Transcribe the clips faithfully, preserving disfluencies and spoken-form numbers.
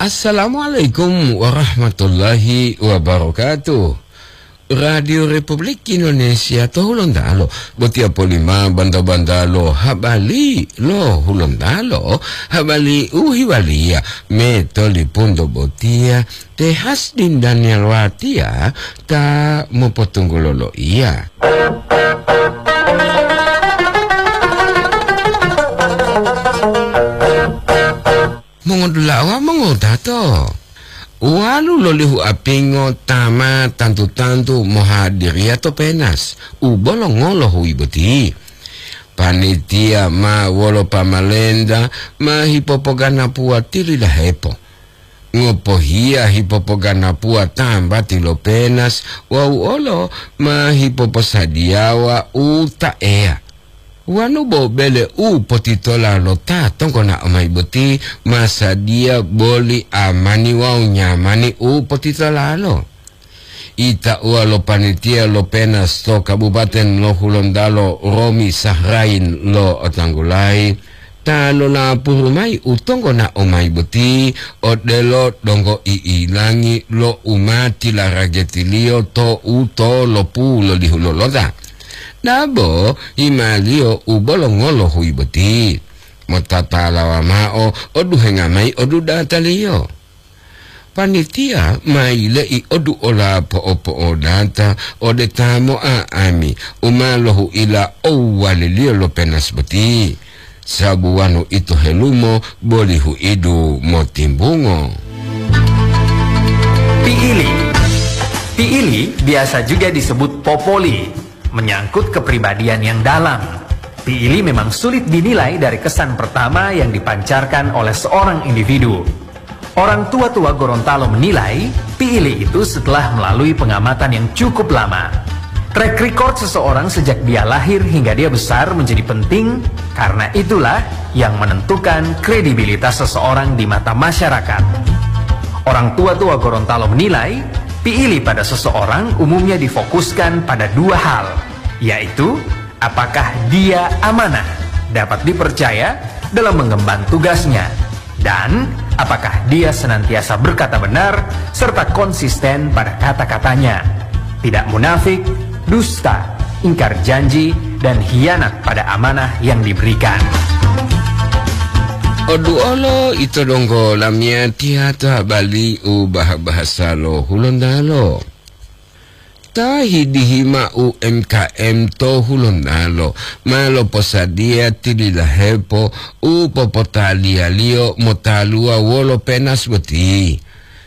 Assalamualaikum warahmatullahi wabarakatuh. Radio Republik Indonesia to Hulontalo, botiya polima banta-banta lo habari lo Hulontalo, habari u hiwaliya me tolipunto botiya te Hasdin Daniel Watiya ta mopotunggulo loiya. Mongodula'a wawu mongotato, uwalu lo lihu apingo ta ma tantu-tantu mohadiriya to penas u bolongo lo huyi boti. Panitiya ma wolo pamalenta ma hipopoganapuwa tilidahepo. Ngopohiya hipopoganapuwa tambati lo penas wawu olo ma hipoposadiyawa u ta eya. Wonu bo bele u potitola lo ta tonggonao mayi boti ma sadiya boli amani wawu nyamani u potitolalo. Itauwa lo panitiya lo penas to Kabupaten lo Hulontalo, Romi Sahrain lo'otanggulayi, ta lolapuru mayi u tonggonao mayi boti odelo donggo i'ilangi lo u ma tilarageti-Liyo to u tolopu lo lihu lolota. Dabo himaliyo u bolongo lo huyi boti, motatalawa mao oduhenga mayi odudataliyo. Panitiya ma yile'i oduola po'opo'odata ode ta mo'a'ami u ma lohu'ila owwaliliyo lo penas boti, sabu wonu ito helumo boli hu'idu motimbungo. Piili. Piili biasa juga disebut popoli, menyangkut kepribadian yang dalam. Piili memang sulit dinilai dari kesan pertama yang dipancarkan oleh seorang individu. Orang tua-tua Gorontalo menilai, piili itu setelah melalui pengamatan yang cukup lama. Track record seseorang sejak dia lahir hingga dia besar menjadi penting, karena itulah yang menentukan kredibilitas seseorang di mata masyarakat. Orang tua-tua Gorontalo menilai, piili pada seseorang umumnya difokuskan pada dua hal, yaitu apakah dia amanah, dapat dipercaya dalam mengemban tugasnya, dan apakah dia senantiasa berkata benar serta konsisten pada kata-katanya, tidak munafik, dusta, ingkar janji, dan hianat pada amanah yang diberikan. Oduolo ito donggo lamiyatiya to habari u bah-bahasa lo Hulontalo. Ta hidihi mao U M K M to Hulontalo ma loposadiya tilidahepo u popotaliyaliyo motaluwa wolo penas boti,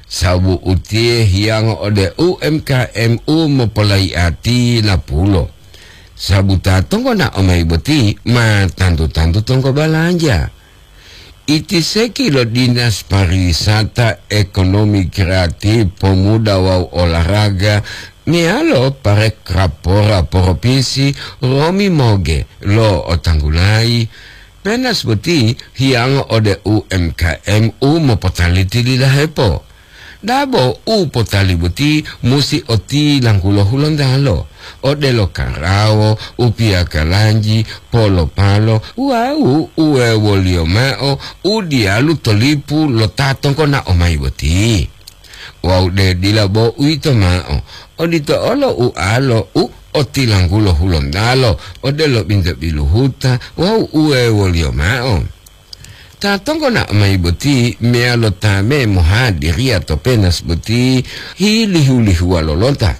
sababu utiye hiyango ode U M K M u mopolayi'ati lapulo. Sababu ta tonggonao mayi boti ma tantu-tantu tonggo balanja. Itiseki lo Dinas Pariwisata, Ekonomi Kreatif, Pemuda wawu Olahraga meyalo Parekrapora Propinsi, Romi Moge lo'otanggulayi, penas boti hiyango ode U M K M u mopotaliti lilahepo. Dabo u potali boti musi otilanggulo Hulontalo, odelo karawo, upiyakalanji, polopalo wawu uwewoliyo mao u diyalu to lipu lo ta tonggonao mayi boti. Wawu de dila bo uwito mao, odito olo ualo u otilanggulo Hulontalo, odelo binto biluhuta wawu uwewoliyo mao. Ta tonggonao mayi boti meyalo ta me mohadiriya to penas boti hilihu-lihuwa lolota.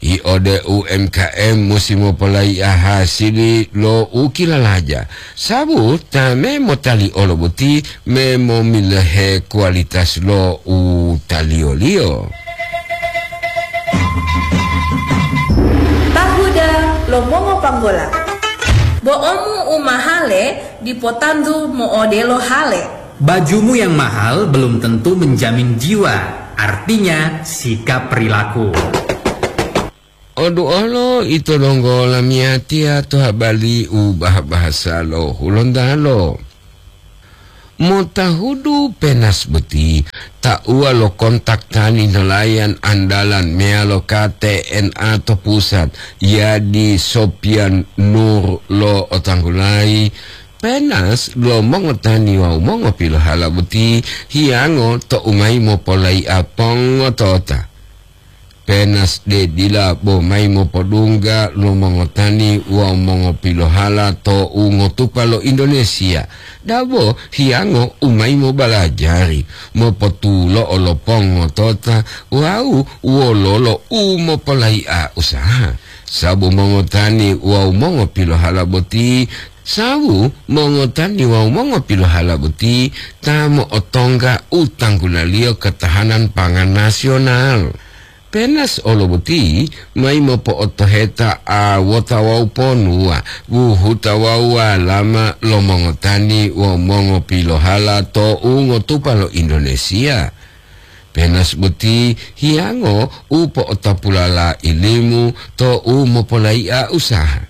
Yi ode U M K M musi mopolayi'a hasili lo u kilalaja, sabu ta me motali olo boti me momilohe kualitas lo u taliyoliyo. Tahuda lo mongopanggola. Bo'omu u mahale dipo tantu mo'odelo hale. Bajumu yang mahal belum tentu menjamin jiwa, artinya sikap perilaku. Oduolo ito donggo lamiyatiya to habari u bah-bahasa lo Hulontalo. Motahudu penas boti, tauwa lo kontak tani nelayan andalan meyalo K T N A to pusat, Yadi Sopian Nur lo'otanggulayi, Penas lo mongotani wawu mongopilohala boti hiyango to'u mayi mopolai'a pongotota. Penas de dila bo mayi mopodungga lo mongotani wawu mongopilohala to'u ngotupa lo Indonesia, dabo hiyango u mayi mobalajari, mopotulo'o lo pongotota wawu wololo u mopolai'a usaha. Sabu mongotani wawu mongopilohala boti Sawu mongotani wawu mongopilohala boti ta mo'otongga u tanggulaliyo ketahanan pangan nasional. Penas olo boti mayi mopo'otoheta awota wawu ponuwa, wuhuta wawu walama lo mongotani wawu mongopilohala to u ngotupa lo Indonesia. Penas boti hiyango u po'otapulala ilimu to u mopolai'a usaha.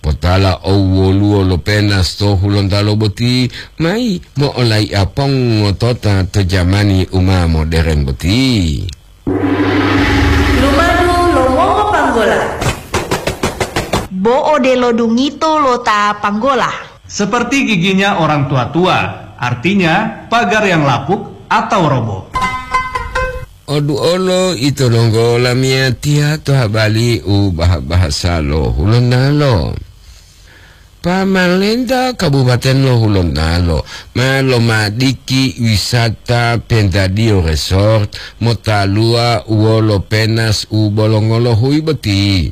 Potala owwoluwo lo Penas to Hulontalo boti mayi mo'olai'a pongotota to jamani u ma moderen boti. Lumadu lo mongopanggola. Bo odelo dungito lo ta panggola. Seperti giginya orang tua-tua, artinya pagar yang lapuk atau roboh. Oduolo ito donggo lamiyatiya to habali u baha-bahasa lo Hulontalo. Pamalenta Kabupaten lo Hulontalo ma lomadiki wisata Pentadio Resort motaluwa wolo Penas u bolongo lo huyi boti.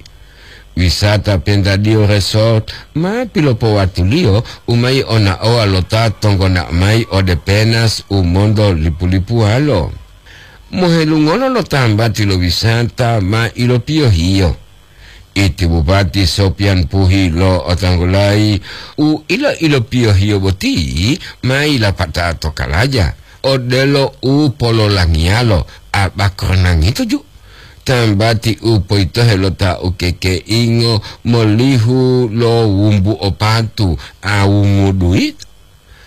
Wisata Pentadio Resort ma pilopowatuliyo u mayi onaowa lo ta tonggona mayi ode Penas u monto lipu-lipuwalo. Mohelungolo lo tambati lo wisata ma ilopiyohiyo. Iti Bupati Sopian Puhi lo'otanggulayi u ilo-ilopiyohiyo boti ma yilapata to kalaja, odelo u pololangiyalo abakoronangito ju. Tambati u poyitohe lo ta ukekeingo molihu lo wumbu opatu awungu duyi.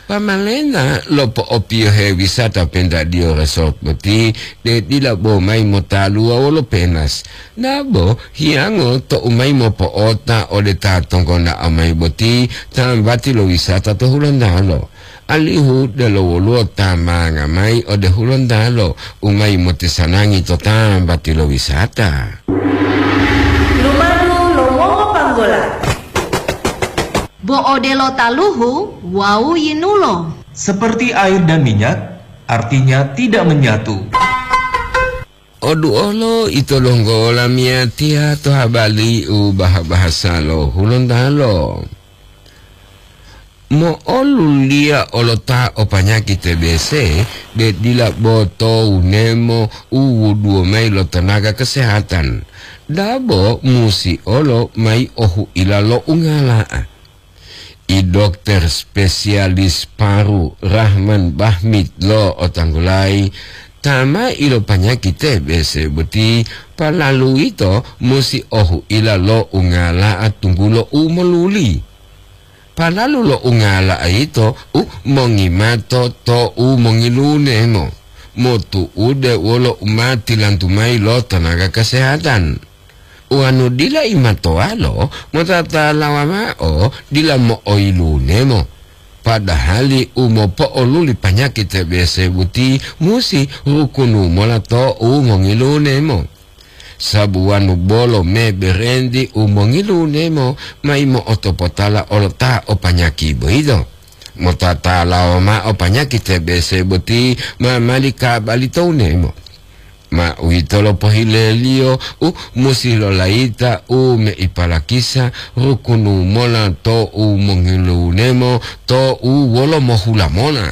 Pamalena lo po'opiyohe wisata Pentadio Resort boti de dila bo mayi motaluwa wolo Penas. Dabo hiyango to u mayi mopo'ota ode ta tonggona'o mayi boti tambati lo wisata to Hulontalo. Alihu delo woluwo ta manga mayi ode Hulontalo u mayi motisanangi to tambati lo wisata. Lumadu lo mongopanggola. Bo odelo taluhu wawu yinulo. Seperti air dan minyak, artinya tidak menyatu. Oduolo ito donggo lamiyatiya to habali u baha-bahasa lo Hulontalo. Mo'oluliya olo ta o panyaki T B C, de dila bo to wunemo u wuduwo mayi lo tenaga kesehatan. Dabo musi olo mayi ohu'ila lo ungala'a. I dokter spesialis paru Rahman Bahmid lo'otanggulayi, ta ma ilopanyaki T B C boti palalu ito musi ohu'ila lo ungala'a tunggulo u moluli. Palalu lo ungala'a yito u mongimato to u mongilunemo, motu'ude wolo u ma tilantu mayi lo tenaga kesehatan. Wonu dila imatoalo, motatalawa mao dila mo'oyilunemo, padahali u mopo'oluli panyaki T B C boti musi rukunu mola to u mongilunemo. Sabu wanu bolo me berenti u mongilunemo mayi mo'otopotala olo ta o panyaki boyito. Motatalawa mao panyaki T B C boti ma mali kabali to wunemo. Ma uwito lo pohileliyo u musi lolayita u meipalakisa rukunu mola to u mongilunemo to u wolo mohula mola.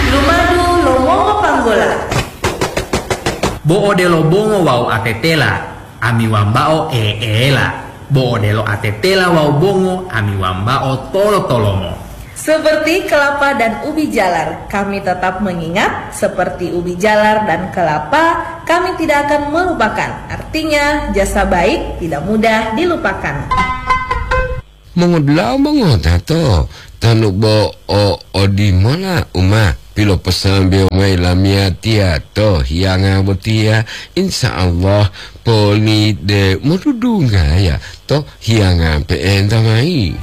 Lumadu lo mongopanggola. Bo odelo bongo wawu atetela, ami wambao eela. Bo odelo atetela wawu bongo, ami wambao tolo-tolomo. Seperti kelapa dan ubi jalar, kami tetap mengingat, seperti ubi jalar dan kelapa, kami tidak akan melupakan. Artinya, jasa baik tidak mudah dilupakan. Mongodula'a mongotato, tanu bo o odimola u ma piloposambewo mayi lamiyatiya to hiyanga botiya, insya Allah poli de modudunggaya to hiyanga pe'enta mayi.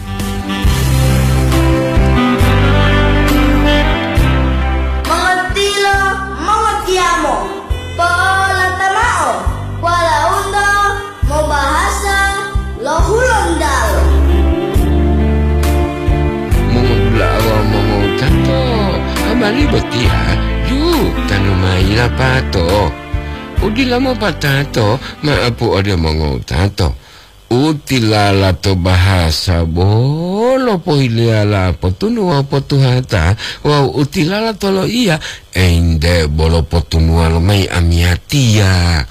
Botiya, ju, tanu mayi lapato. Udila mopatato, ma'apu ode mongowutato. Utilala to bahasa bolo pohileyala potunuwa potuhata, wawu utilala to loiya, ente bolo potunuwa lomayi amiyatiya.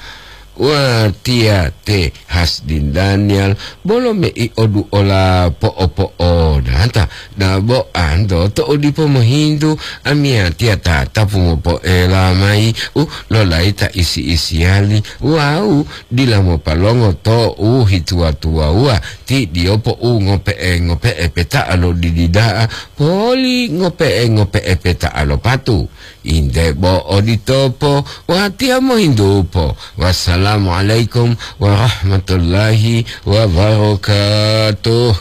Watiya te Hasdin Daniel, bolo mei oduola po'opo'odata, dabo anto to odipo mohintu amiyatiya tatapu mopoela mayi u lolayi ta isi-isiyali wawu dila mopalongo to u hituwa-tuwawuwa, ti diyopo u ngope'e-ngope'e peta'a lo didi da'a, poli ngope'e-ngope'e peta'a lo patu. Inde bo oditopo, watiya mohintupo. Wassalamualaikum warahmatullahi wabarakatuh.